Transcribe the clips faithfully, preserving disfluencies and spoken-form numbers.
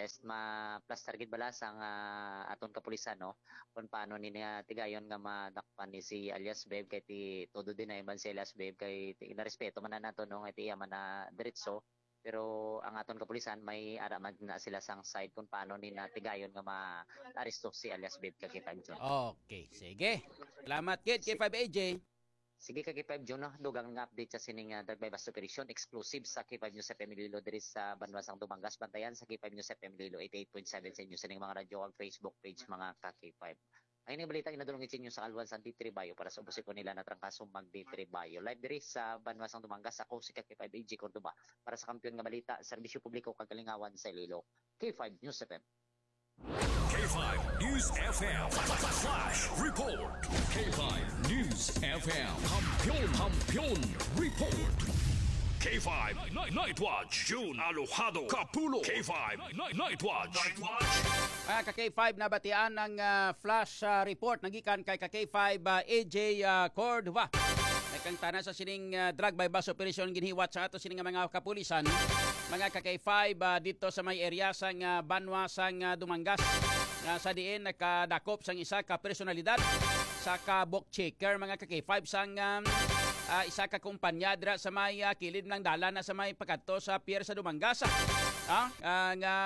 Just ma-plaster gid bala sang, ah, aton kapulisan, no? Kung paano ni nga tigayon nga madakpan ni si alias Beb, kay ti todo din na man si alias Beb, kay ti narespeto man na nato, no? Nga ti iya man na diretso. Pero ang aton kapulisan, may ara man na sila sang side kung paano ni natigayon nga ma-aresto si alias Beb, ka K five Jun. Okay, sige. Salamat gid, K five A J. Sige, ka K five Jun, no? Dugang nga update sa sining, ah, drug buy bust operation, exclusive sa K five News F M Iloilo diri sa banwa sang Dumangas. Bantayan sa K five News F M Iloilo eighty-eight point seven sa inyo sining mga radyo ag Facebook page, mga ka K five. Ay, nga balita ginadulong sa inyo sa Alwan sa Ditribayo para sa ubos ko nila na trangkaso mag Ditribayo. Live diri sa banwa sang Dumangas, ako si ka K five A J Cordoba para sa Kampiyon nga Balita, Serbisyo Publiko kag Kalingawan sa Iloilo. K five News F M. K five News F M Flash Report. K five News F M Kampiyon, Kampiyon Report. K five Night, Night Watch, June Alojado Kapulo. K five Night, Night Watch. Night Watch. Mga ka K five, nabatian ang, ah, flash, ah, report nagikan kay ka K five, ah, A J, ah, Cordova. May kang tana sa sining, ah, drug buy bust operation ginhiwat sa ato sining nga mga kapulisan, mga ka K five, ah, dito sa may area sang, ah, banwa sang, ah, Dumangas, nga sa diin nakadakop sang isa ka personalidad sa ka book checker, mga ka K five, sang, um, ah, isa ka kumpanya dira sa may, ah, kilid ng dalan na sa may pagkadto sa pier sa Dumangas. Ah, ah, nga,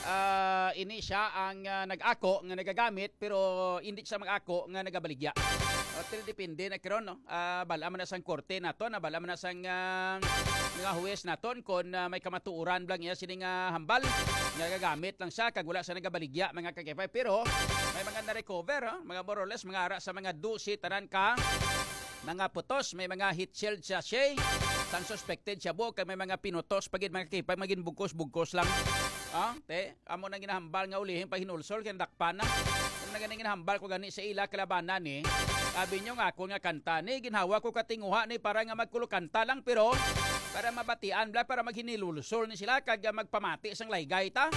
ah, ini siya ang, ah, nag-ako nga nagagamit, pero hindi siya mag-ako nga nagabaligya. O, pero depende na karon, no? Ah, bala man na sang korte naton, ah, bala man na sang, ah, mga huwes naton, kon, ah, may kamatuoran lang iya sini nga hambal, nga gagamit lang siya, kag wala siya nagabaligya, mga ka K five. Pero may mga na-recover, ah, mga more or less, mga ara sa mga dose tanan ka mga putos, may mga heat shield sachet sang suspected shabu, kag may mga pinutos pa gid, mga K five, maging bugkos-bugkos lang. Ah, te, amo nang ginahambal nga ulihin pa hinulsol kay nadakpan na. Amo nang ginahambal ko gani sa ila kalabanan ni. Sabi nyo nga ako nga kanta ni, ginhawa ko katinguha ni para nga magkulokanta lang, pero para mabatian bala, para maghinulsol ni sila kag, ah, magpamati sang laygay ta.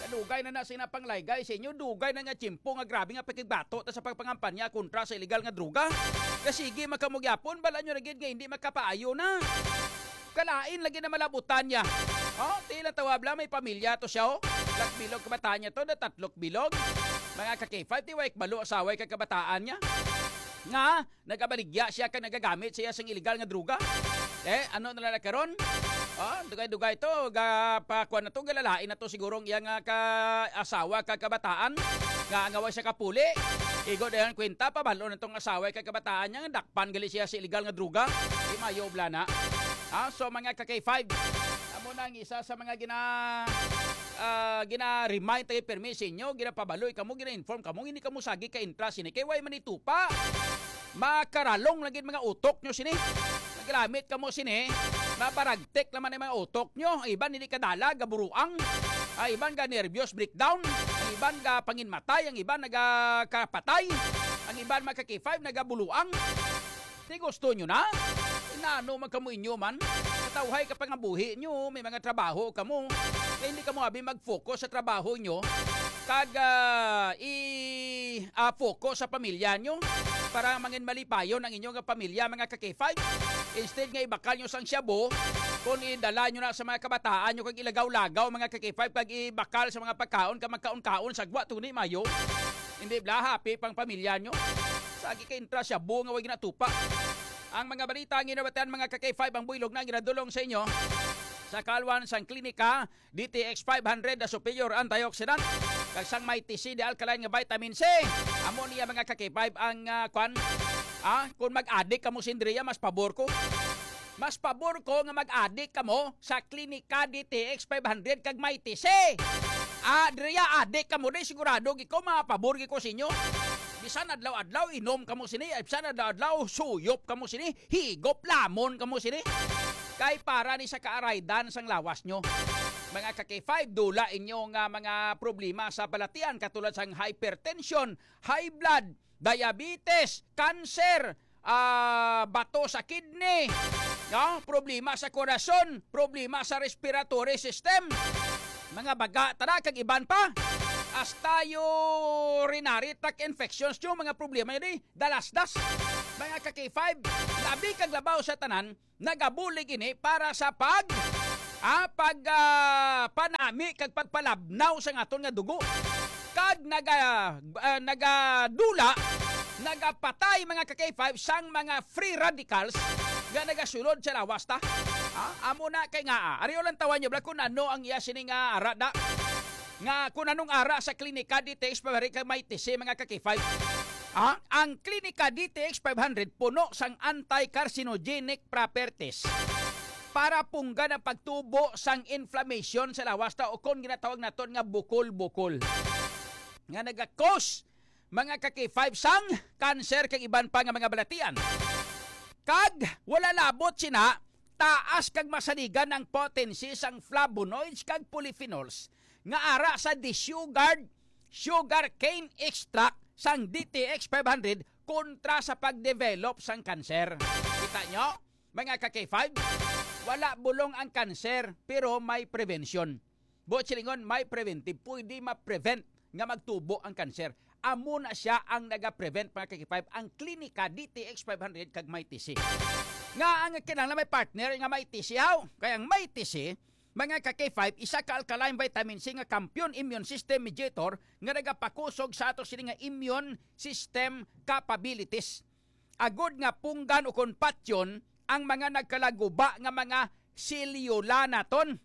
Kadugay na na sina pang laygay sa inyo, dugay na nga tiyempo nga grabe nga pakigbato ta sa pagpangampanya kontra sa illegal nga droga. Kay sige man kamo gyapon, bala nyo na gid nga hindi makapaayo na. Kalain lagi na malabutan niya. Oh, tila tawab lang, may pamilya to siya, oh. Tatlok bilog kabataan niya to, na tatlok bilog. Mga ka K five, ti way kabalo asawa kag kabataan niya. Nga, nagabaligya siya kag nagagamit siya sang illegal nga droga. Eh, ano na lang karon? Oh, dugay-dugay to, ga, pa, kuwan na to, galalain na to siguro ang iyang, ah, ka, asawa kag kabataan. Nga, nga wa siya kapuli. Igo dayon kwenta, pabalo na tong asawa kag kabataan niya, nga dakpan gali siya sa illegal nga droga. Di mayo bala na. Ah, so, mga ka K five, amo na ang isa sa mga gina, ah, gina-remind tayo permi sa inyo, ginapabaloy kamo, gina-inform kamo, hindi kamo sagi ka intra sini. Kay way man itupa. Makaralong lang gid mga utok nyo sini. Naglamit kamo sini. Mabaragtek naman ang mga utok nyo. Ang iban hindi kadala, gaburuang. Ang iban ga nervyos, breakdown. Ang iban ga panginmatay, ang iban nagakapatay. Ang iban mga ka K five nagabuluang. Ti gusto nyo na? Inano man kamo inyo man? Katawhay ka pa nga buhi nyo, may mga trabaho kamo. Kaya hindi kamo abi mag-focus sa trabaho nyo. Kag, ah, i, ah, focus sa pamilya nyo para mangin malipayon ang inyong pamilya, mga ka K five. Instead nga ibakal nyo sang shabu, kung idala nyo na sa mga kabataan nyo kag ilagaw-lagaw, mga ka K five, kag ibakal sa mga pagkaon, kag magkaon-kaon, sagwa, tuni, mayo. Hindi bala, happy pang pamilya nyo. Sagi ka intra shabu nga way ginatupa. Ang mga balita ang ginabatian, mga ka K five, ang buylog na ang ginadulong sa inyo sa kalwan sang klinika, D T X five hundred na superior antioxidant, kag sang Mighty C, the alkaline nga vitamin C. Amo niya, mga ka K five, ang, ah, kwan, ah, kung mag-adik kamo sindriya, mas pabor ko. Mas pabor ko nga mag-adik kamo sa Klinika D T X five hundred kag Mighty C. Ah, diriya adik kamo, di sigurado gid ko, mapabor gid ko sa inyo. Bisan adlaw-adlaw inom kamo sini, bisan adlaw-adlaw suyop kamo sini, higop lamon kamo sini. Kay para ni sa kaaraydan sang lawas nyo. Mga ka K five, dula inyo nga mga problema sa balatian katulad sang hypertension, high blood, diabetes, cancer, ah, bato sa kidney, no? Problema sa korason, problema sa respiratory system, mga baga, tara, kag iban pa. Hasta urinary tract infections nyo, mga problema yun eh. Dalasdas, mga ka K five, labi kag labaw sa tanan, nagabulig ini para sa pag Ah, pag, ah, panami kag pagpalabnaw sa aton nga dugo. Kag naga-, ah, nagadula, nagapatay, mga ka-K five, sang mga free radicals nga nagasulod sa lawas ta. Ah, amo na kay nga, ah, ari lang tawan nyo, bla, kung ano ang iya sini nga ara da. Nga kung anong ara sa Klinika D T X five hundred kag Mighty C, mga ka-K five. Ah, ang Klinika D T X five hundred puno sang anti-carcinogenic properties para punggan ang pagtubo sang inflammation sa lawas ta, o kon ginatawag naton nga bukol-bukol, nga naga-cause, mga ka-K five, sang cancer kag iban pa nga mga balatian. Kag wala labot sina, taas kag masaligan ang potency sang flavonoids kag polyphenols nga ara sa desugared sugarcane extract sang D T X five hundred kontra sa pag-develop sang cancer. Kita nyo, mga ka-K five? Wala bulong ang cancer, pero may prevention. Buot silingon, may preventive. Pwede ma-prevent nga magtubo ang cancer. Amo na siya ang naga-prevent, mga ka-K five, ang Klinika D T X five hundred kag Mighty C. Nga ang kinahanglan may partner nga Mighty C, haw? Kay ang Mighty C, mga ka-K five, isa ka alkaline vitamin C nga kampiyon immune system mediator nga nagapakusog sa ato sini nga immune system capabilities, agod nga punggan o kon patyon ang mga nagkalaguba nga mga selyula naton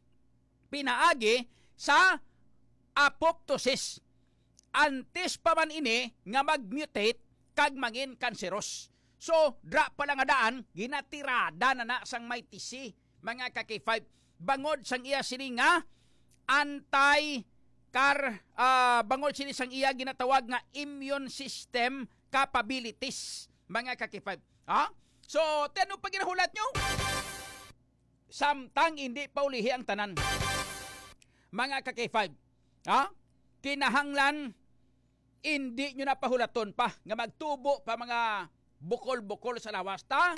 pinaagi sa apoptosis, antes pa man ini nga mag-mutate kag mangin kanseros. So, dra pa lang nga daan, ginatirada na na sang Mighty C, mga ka-K five, bangod sang iya sini nga anti-car, ah, bangod sini sang iya ginatawag nga immune system capabilities, mga ka-K five. Ha? So, ti ano pa ginahulat nyo? Samtang hindi pa ulihi ang tanan, mga ka-K five. Ha? Kinahanglan, hindi nyo na pahulaton pa nga magtubo pa mga bukol-bukol sa lawas ta,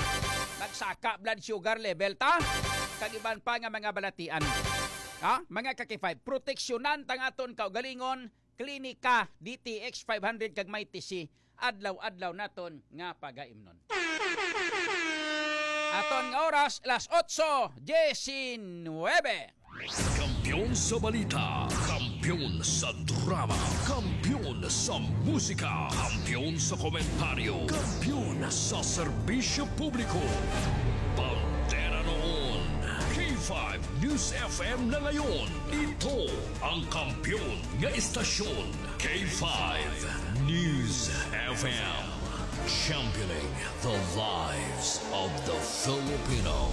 magsaka blood sugar level ta, kag iban pa nga mga balatian. Ha? Mga ka-K five, proteksyonan ta nga aton kaugalingon, Klinika, D T X five hundred kag Mighty C, adlaw-adlaw naton nga pagaimnon. Aton nga oras, las otso diecinuebe. Kampiyon sa balita, kampiyon sa drama, kampiyon sa musika, kampiyon sa komentaryo, kampiyon sa serbisyo publiko. Bandera noon, K five News F M na ngayon. Ito ang kampiyon nga istasyon, K five News F M. Championing the lives of the Filipino.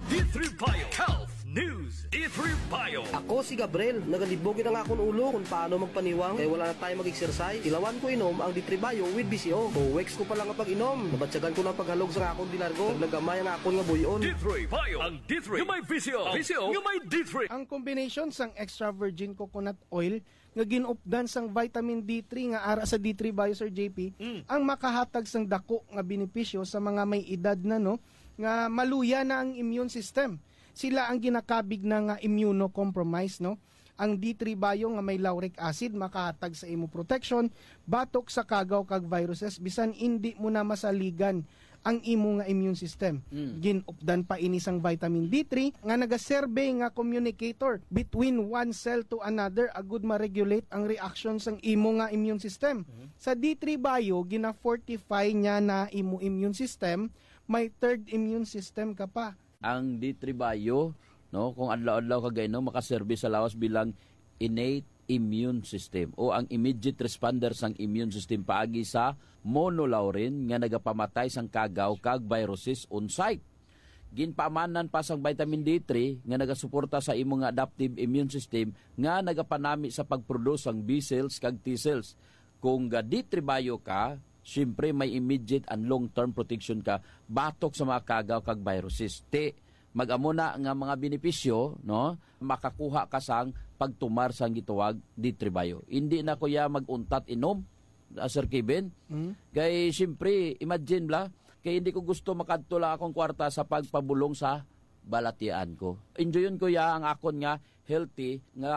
D three Bio Health News, D three Bio. Ako si Gabriel. Nagalibog gid ang akon ulo kung paano magpaniwang kay wala na tayo mag-exercise. Ilawan ko inom ang D three Bio with V C O. Two weeks ko pa lang ang pag-inom, nabatyagan ko na ang paghalog sa akon dilargo. Naglagamay ang akon nga buy-on. D three Bio, ang D three nga may V C O. V C O nga may D three. Ang combination sang extra virgin coconut oil nga gin-updan sang vitamin D three nga ara sa D three Bio, Sir J P, Mm. ang makahatag sang dako nga benepisyo sa mga may edad na, no, nga maluya na ang immune system. Sila ang ginakabig na nga immunocompromised, no? Ang D three Bio nga may lauric acid makahatag sa imo protection batok sa kagaw kag viruses, bisan indi mo na masaligan ang imo nga immune system. Mm. Gin-updan pa ini sang vitamin D three nga nagaserbe nga communicator between one cell to another, agud ma-regulate ang reaction sang imo nga immune system. Mm. Sa D three Bio, gina-fortify niya na imo immune system, may third immune system ka pa. Ang D three Bio, no, kung adlaw-adlaw ka gainom, makaserbi sa lawas bilang innate immune system o ang immediate responder sang immune system paagi sa monolaurin nga nagapamatay sang kagaw kag viruses on site. Ginpaamanan pa sang vitamin D three nga nagasuporta sa imo nga adaptive immune system nga nagapanami sa pagproduce sang B cells kag T cells. Kung ga D three Bio ka, siyempre may immediate and long-term protection ka batok sa mga kagaw kag viruses. Ti, mag-amo na nga mga benepisyo, no? Makakuha ka sang pagtumar sang gitawag D three Bio. Hindi na ko ya mag-untat inom, ah, Sir Kevin. Mm. Kay, siyempre, imagine bla, kay hindi ko gusto makadto lang akong kwarta sa pagpabulong sa balatian ko. Enjoyon ko ya ang akon nga healthy nga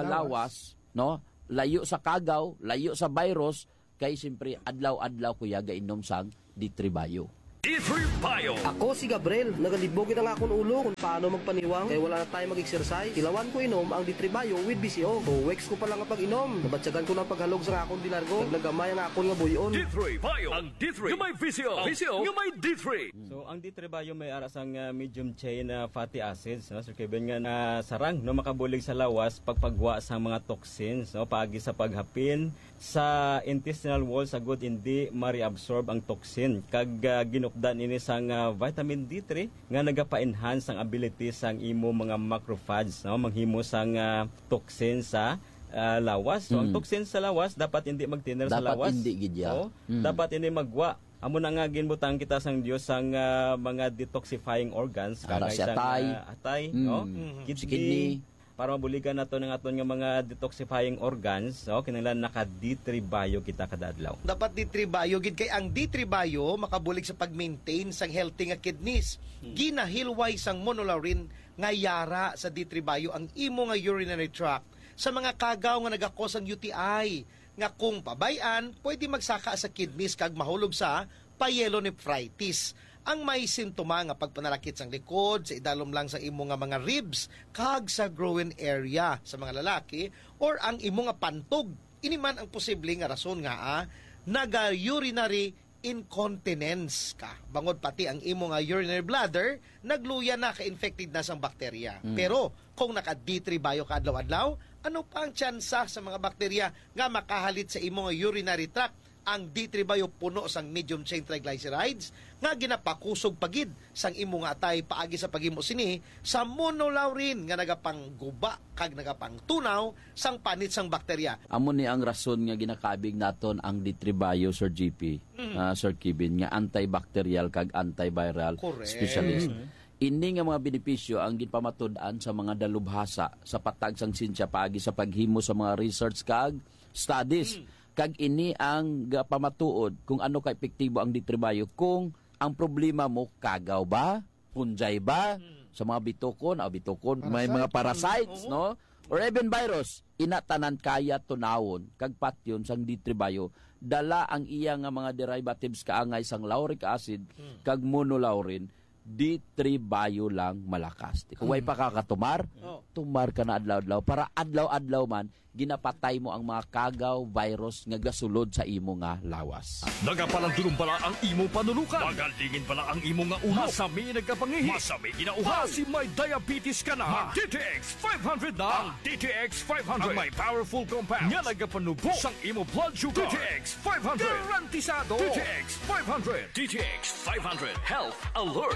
Lawas. lawas, no? Layo sa kagaw, layo sa virus, kay siyempre adlaw-adlaw ko ya gainom sang D three Bio. D three Bio. Ako si Gabriel. Nagalibog gid ang akon ulo kung paano magpaniwang kay wala na tayo mag-exercise. Tilawan ko inom ang D three Bio with B C O. Two weeks ko pa lang ang pag-inom. Nabatyagan ko na ang paghalog sa akon dilargo. Nagnagamay ang akon nga buyon. D three Bio. Ang D three nga may V C O. V C O nga may D three. So, ang D three Bio may ara sang, ah, medium chain na fatty acids, no? Sir Kevin, nga na sarang, no, makabulig sa lawas pagpagwa sa mga toxins, no? Paagi sa paghapin sa intestinal wall, sa gud hindi ma-reabsorb ang toxin. Kag, ah, ginupdan ini sang, ah, vitamin D three nga nagapa-enhance ang ability sang imo mga macrophage, no? Manghimo sang, ah, toxin sa, ah, lawas. So, ang Mm. toxin sa lawas dapat hindi magtiner sa Dapat lawas. hindi gid ya. Oo. Mm. Dapat ini magwa. Amo na nga ginbutang kita sang Dios sang, ah, mga detoxifying organs, Ara kagay si sang, atay. ah, atay, Mm. no? Mhm. Kidney, Si kidney. para mabuligan nato ang aton nga mga detoxifying organs, no? Kinahanglan naka D three Bio kita kada adlaw. Dapat D three Bio gid kay ang D three Bio makabulig sa pag-maintain sang healthy nga kidneys. Hmm. Ginahilway sang monolaurin nga yara sa D three Bio ang imo nga urinary tract sa mga kagaw nga nagakos ang U T I, nga kung pabay-an, pwede magsaka sa kidneys kag mahulog sa pyelonephritis. Ang may sintoma nga pagpanalakit sang likod, sa idalom lang sa imo nga mga ribs, kag sa groin area sa mga lalaki, or ang imo nga pantog. Ini man ang posible nga rason nga, ah, naga-urinary incontinence ka. Bangod pati ang imo nga urinary bladder, nagluya na, ka-infected na sang bakterya. Mm. Pero kung naka D three Bio ka adlaw-adlaw, ano pa ang tsansa sa mga bakterya nga makahalit sa imo nga urinary tract? Ang D three Bio puno sang medium chain triglycerides nga ginapakusog pa gid sang imo nga atay paagi sa paghimo sini sa monolaurin nga nagapangguba kag nagapangtunaw sang panit sang bakterya. Amo ni ang rason nga ginakabig naton ang D three Bio, Sir G P, Mm. ah, Sir Kevin, nga antibacterial kag antiviral Correct. specialist. Mm. Ini nga mga benepisyo ang ginpamatud-an sa mga dalubhasa sa patag sang siyensya paagi sa paghimo sa mga research kag studies. Mm. Kag ini ang gapamatuod kung ano ka epektibo ang D three Bio. Kung ang problema mo, kagaw ba? Punjay ba? Mm. Sa mga bitukon, ah, bitukon, may Parasite. mga parasites, Oo. no? Or even virus, ina tanan kaya tunawon kag patyon sang D three Bio. Dala ang iya nga mga derivatives kaangay sang lauric acid Mm. kag monolaurin, D three Bio lang malakas. Kung way Mm. pa ka katumar, Oh. tumar ka na adlaw-adlaw. Para adlaw-adlaw man, ginapatay mo ang mga kagaw, virus nga gasulod sa imo nga lawas. Nagapalandulong bala ang imo panulukan? Magalingin bala ang imo nga ulo? Masami nagkapangihi? Masami ginauhaw? Basi may diabetes ka na? Mag D T X five hundred na. Ang D T X five hundred ang may powerful compound nga nagapanubo sang imo blood sugar. D T X five hundred. Garantisado. D T X five hundred. D T X five hundred Health Alert.